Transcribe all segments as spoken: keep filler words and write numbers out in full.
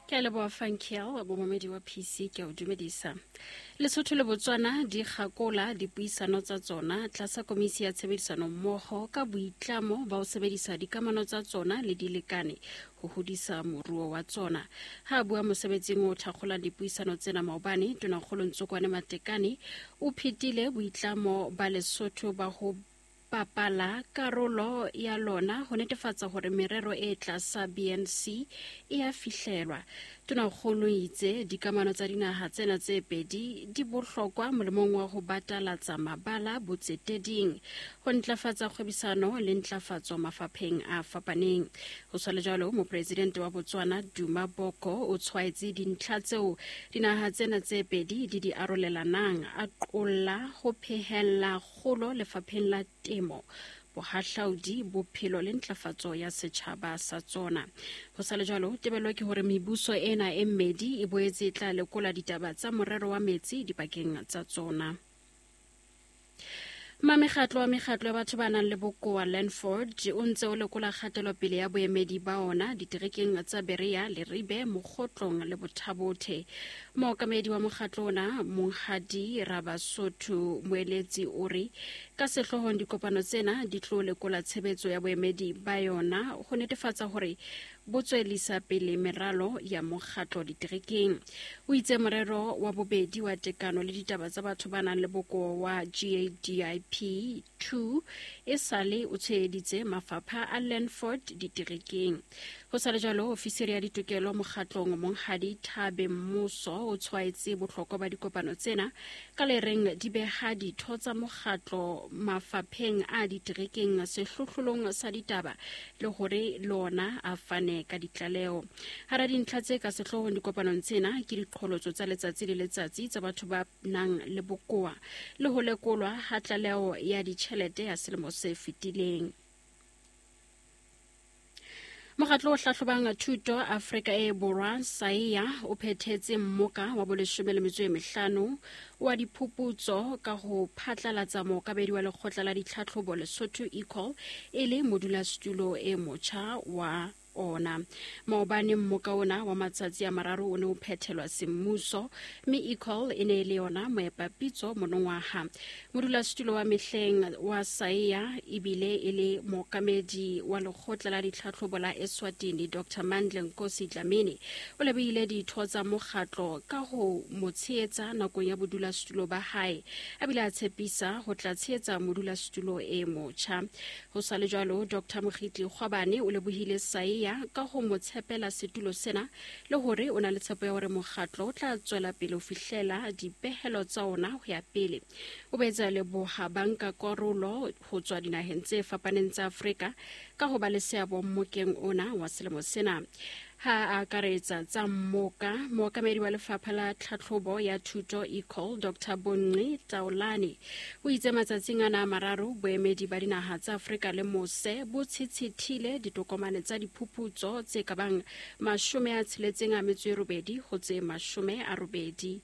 Ke a leboha Funkel, bomamedi wa P C, ke a o dumedisa. Lesotho le Botswana di kgakola dipuisano tsa tsona tlasa komisi ya tshebedisano mmoho ka boitlamo ba ho sebedisa dikamano tsa tsona le dilekane ho hodisa moruo wa tsona. Ha a bua mosebetsing o thakgolang dipuisano tsena maobane, Tonakgolo Ntsokoane Matekane o phetile boitlamo ba Lesotho ba ho bapala karolo ya lona ho netefatsa hore merero e tlasa B N C e a fihlelwa. Tonakgolo itse dikamano tsa dinaha tsena tse pedi di bohlokwa molemong wa ho batalatsa mabala botseteding, ho ntlafatsa kgwebisano le ntlafatso mafapheng a fapaneng. Ho sa le jwalo, mopresidente wa Botswana Duma Boko o tshwaetse dintlha tseo dinaha tsena tse pedi di di arolelanang, a qolla ho phehella kgolo lefapheng la temo, bohahlaudi, bophelo le ntlafatso ya setjhaba sa tsona. Ho sa le jwalo, tebello ke hore mebuso ena e mmedi e boetse e tla lekola ditaba tsa morero wa metsi dipakeng tsa tsona. Mamekgatlo wa mekgatlo ya batho ba nang le bokowa Landford o ntse o lekola kgatelopele ya boemedi ba ona diterekeng tsa Berea, Leribe, Mokgotlong le Bothabothe. Mookamedi wa mokgatlo ona, Monghadi Rabasotho Moeletsi, o re ka sehloohong dikopano tsena di tlo lekola tshebetso ya boemedi ba yona ho netefatsa hore bo tswellisa pele meralo ya mokgatlo diterekeng. O itse morero wa bobedi wa tekano le ditaba tsa batho ba nang le bokowa wa G A D I P two e sale o tsheheditse mafapha a Landford diterekeng. Ho sa le jwalo, ofisiri ya ditokelo mokgatlong Monghadi Thabe Mmuso o tshwaetse bohlokwa ba dikopano tsena ka le reng di beha ditho tsa mokgatlo mafapheng a diterekeng sehlohlolong sa ditaba le hore lona a fane ka ditlaleho. Hara dintlha tse ka sehloohong dikopanong tsena ke diqholotso tsa letsatsi le letsatsi tsa batho ba nang le bokowa le ho lekolwa ha tlaleho ya ditjhelete ya selemo se fetileng. Mokgatlo o hlahlobang thuto Afrika e Borwa SAIA o phethetse mmoka wa boleshome le metso e mehlano wa diphuputso ka ho phatlalatsa mookamedi wa lekgotla la ditlhatlhobo Lesotho Ecol e le modulasetulo e motjha wa ona. Maobane mmoka ona wa matsatsi a mararo o ne o phethelwa semmuso, mme Ecol e ne e le yona moepapitso monongwaha. Modulasetulo wa mehleng wa SAIA ebile e le mookamedi wa lekgotla la ditlhatlhobo la Eswatini Doctor Mandla Nkosi Dlamini o lebohile ditho tsa mokgatlo ka ho mo tshehetsa nakong ya bodulasetulo ba hae, a bile a tshepisa ho tla tshehetsa modulasetulo e motjha. Ho sa le jwalo, Doctor Mokgitli Kgwabane o lebohile SAIA ka ho mo tshepela setulo sena le hore o na le tshepo ya hore mokgatlo o tla tswela pele ho fihlela dipehelo tsa ona ho ya pele. O boetse a leboha bankakarolo ho tswa dinaheng tse fapaneng tsa Afrika ka ho ba le seabo mmokeng ona wa selemo sena. Ha a akaretsa tsa mmoka, mookamedi wa lefapha la tlhatlhobo ya thuto Ecol Doctor Bonqi Taolane o itse matsatsing ana a mararo boemedi ba dinaha tsa Afrika le mose bo tshitshithile ditokomane tsa diphuputso tse ka bang mashome a tsheletseng a metso e robedi ho tse mashome a robedi.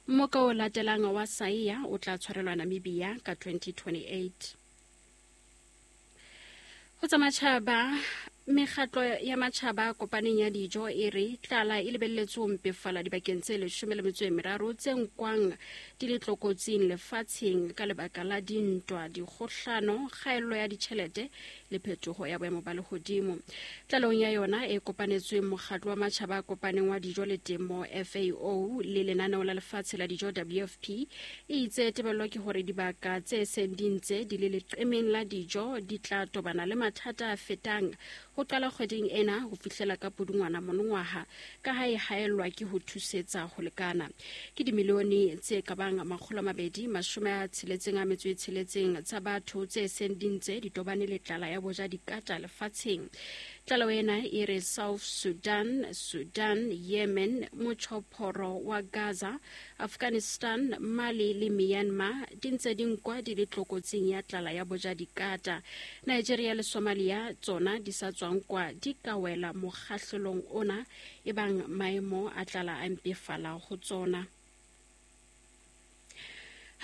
Mmoka o latelang wa SAIA o tla tshwarelwa Namibia ka twenty twenty-eight. Ho tsa matjhaba, mekgatlo ya matjhaba a kopaneng ya dijo e re tlala e lebelletswe ho mpefala dibakeng tse leshome le metso e meraro tse nkwang di le tlokotsing lefatsheng ka lebaka la dintwa, dikgohlano, kgaello ya ditjhelete le phetoho ya boemo ba lehodimo. Tlalehong ya yona e kopanetsweng mokgatlo wa matjhaba a kopaneng wa dijo le temo F A O le lenaneo la lefatshe la dijo W F P e itse tebello ke hore dibaka tse seng di ntse di le leqemeng la dijo di tla tobana le mathata a fetang ho qala kgweding ena ho fihlela ka pudungwana monongwaha ka ha e haellwa ke ho thusetsa ho lekana. Ke dimilione tse ka bang makgolo a mabedi mashome a tsheletseng a metso e tsheletseng tsa batho tse seng di ntse di tobane le tlala ya boja dikata lefatsheng. Tlaleho ena e re South Sudan, Sudan, Yemen, motjhophoro wa Gaza, Afghanistan, Mali le Myanmar di ntse di nkwa di le tlokotsing ya tlala ya boja dikata. Nigeria le Somalia tsona di sa tswang kwa di ka wela mokgahlelong ona ebang maemo a tlala a mpefala ho tsona.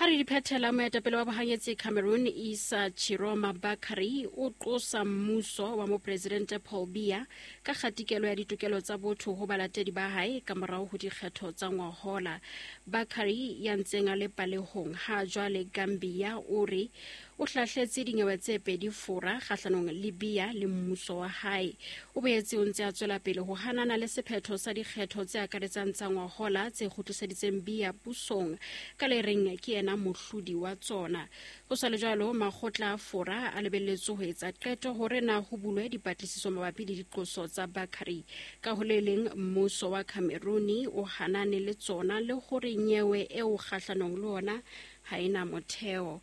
Ha re di phethela, moetapele wa bohanyetsi Cameroon Issa Tchiroma Bakary o qosa mmuso wa mopresidente Paul Biya ka kgatikelo ya ditokelo tsa botho ho balatedi ba hae ka morao ho dikgetho tsa ngwahola. Bakary ya ntseng a le palehong ha jwale Gambia o re o hlahletse dinyewe tse pedi fora kgahlanong le Biya le mmuso wa hae. O boetse o ntse a tswela pele ho hanana le sephetho sa dikgetho tse akaretsang tsa ngwahola tse kgutliseditseng Biya pusong ka le reng ke yena mohlodi wa tsona. Ho sa le jwalo, makgotla a fora a lebelletswe ho etsa qeto hore na ho bulwe dipatlisiso mabapi le diqoso tsa Bakary. Ka ho le leng, mmuso wa Cameroon o hanane le tsona le hore nyewe eo kgahlanong le ona ha ena motheo.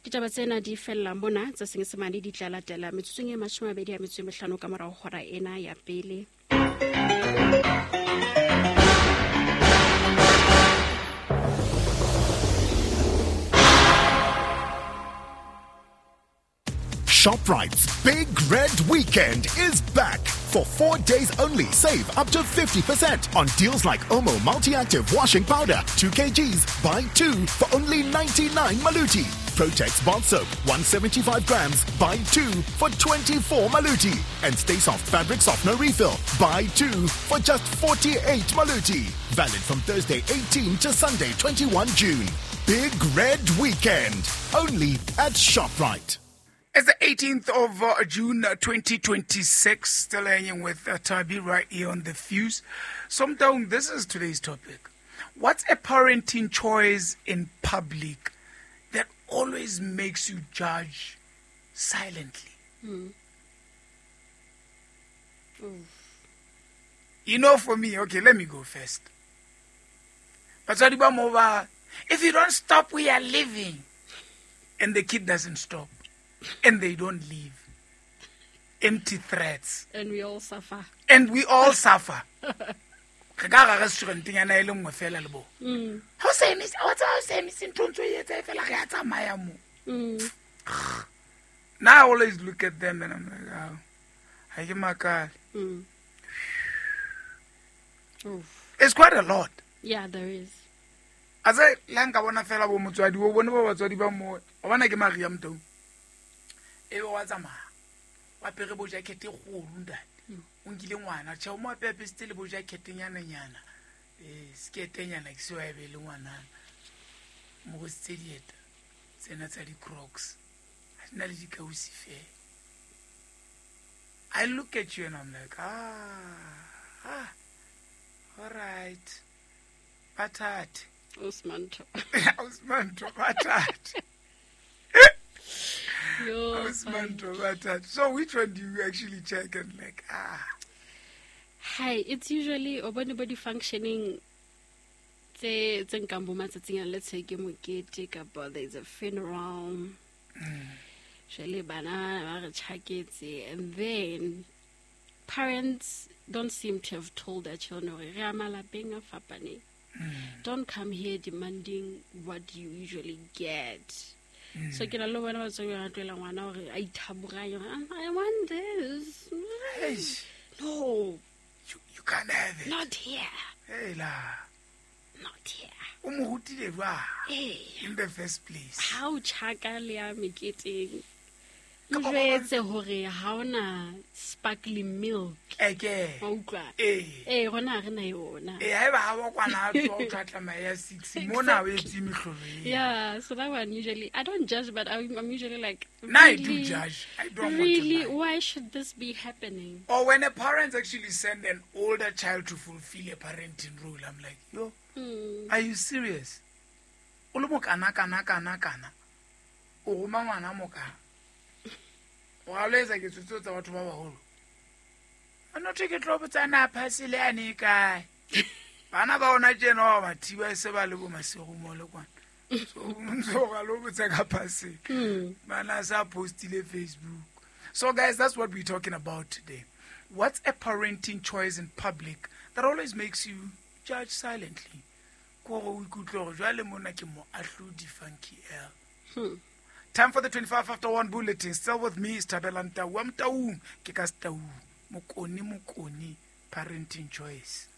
Ditaba tsena di fella mona, tsa Senyesemane di tla latela metsotsong e mashome a mabedi a metso e mehlano ka morao hora ena ya pele. ShopRite's Big Red Weekend is back. For four days only, save up to fifty percent on deals like Omo Multi-Active Washing Powder, two kilograms, buy two for only ninety-nine Maluti. Protex Bath Soap, one seventy-five grams, buy two for twenty-four Maluti. And Stay Soft Fabric Softener Refill, buy two for just forty-eight Maluti. Valid from Thursday eighteenth to Sunday twenty-first June. Big Red Weekend, only at ShopRite. It's the eighteenth of uh, June twenty twenty-six, still hanging with uh, Tabi right here on The Fuse. Somtown, this is today's topic. What's a parenting choice in public that always makes you judge silently? Mm. You know, for me, okay, let me go first. But if you don't stop, we are leaving. And the kid doesn't stop. And they don't leave. Empty threats. And we all suffer. And we all suffer. Re ka ga restaurant-nyana e le nngwe fela le bo. Ha o sa emise, wa tseba ha o sa emise ntho ntse o e etsa e fela re a tsamaya mo. Now I always look at them and I'm like, oh, ha ke makale. Mm. It's quite a lot. Yeah, there is. A tse la nka bona fela bo motswadi, o bone ba batswadi ba mo. O bona ke Maria Motau. E be wa tsamaya wa apere bo jacket e kgolo ntate, o nkile ngwana tjhe, o mo apesitse le bo jacket-nyana-nyana, eh sketenyana ke seo a be le ngwanana, mo go sitse dieta tsena tsa di-Crocs, ha di na le dikausi fela. I look at you and I'm like, ah, ah, all right, batate. Osmanto. Osmanto, batate. So which one do you actually check and like, ah? Hi, it's usually anybody functioning. Tse tse nkang bo matsatsing a, let's say ke mokete kapa there's a funeral. Jwale bana ba re tjhaketse, and then parents don't seem to have told their children hore re a malapeng a fapaneng. Don't come here demanding what you usually get. Mm. So ke na le bona batswadi ba tlohela ngwana hore a ithaboranye, I want this. Hey. No. You, you can't have it. Not here. Hey la. Not here. O mo rutile jwang? Hey. In the first place. Ha o tjhaka le ya meketeng. O jwetse hore ha ona sparkling milk. Eke. Wa utlwa? Eh. Eh, rona ha re na yona. Eh, haeba ha wa kwana a tswa o tla tsamaya ya six, mona o etse mehlolo eo. Yeah, so that one usually I don't judge, but I'm, I'm usually like, No, I really, do judge. I don't want to Really, lie. Why should this be happening? Or when a parent actually send an older child to fulfill a parenting role, I'm like, yo, mm. are you serious? O le mokana kana kana kana. O roma ngwana moka. O ga lo etsa ketso tseo tsa batho ba baholo. A no ke tlo botsa na phasile ane e kae. Bana ba ona tjena ba ba thiba e se ba le bo masego mo le kwana. So ntso ga lo botsa ka phasile. Mm. Bana sa postile Facebook. So guys, that's what we're talking about today. What's a parenting choice in public that always makes you judge silently? Ko go o ikutlwe gore jwale mona ke mo ahlodi Funky L. Hmm. Time for the twenty-five after one bulletin. Still with me is Thabela Ntau. Wa Motaung ke ka Setau. Mokoni Mokoni parenting choice.